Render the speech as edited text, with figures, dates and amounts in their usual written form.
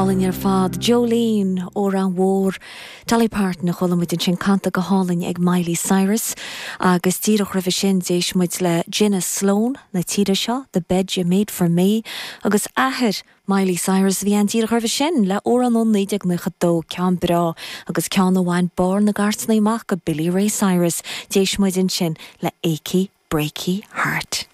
hálainn ar fad. Jolene, amhrán mhór Dolly Parton a chuala muid ansin canta go hálainn ag Miley Cyrus agus díreach roimhe sin d'éist muid le Gina Sloane na tíre seo, The Bed You Made For Me agus athair Miley Cyrus a bhí ann díreach roimhe sin le amhrán ó 1992, ceann breá agus ceann a bhain barr na gcairteanna amach go Billy Ray Cyrus. D'éist muid ansin le Achy Breaky Heart.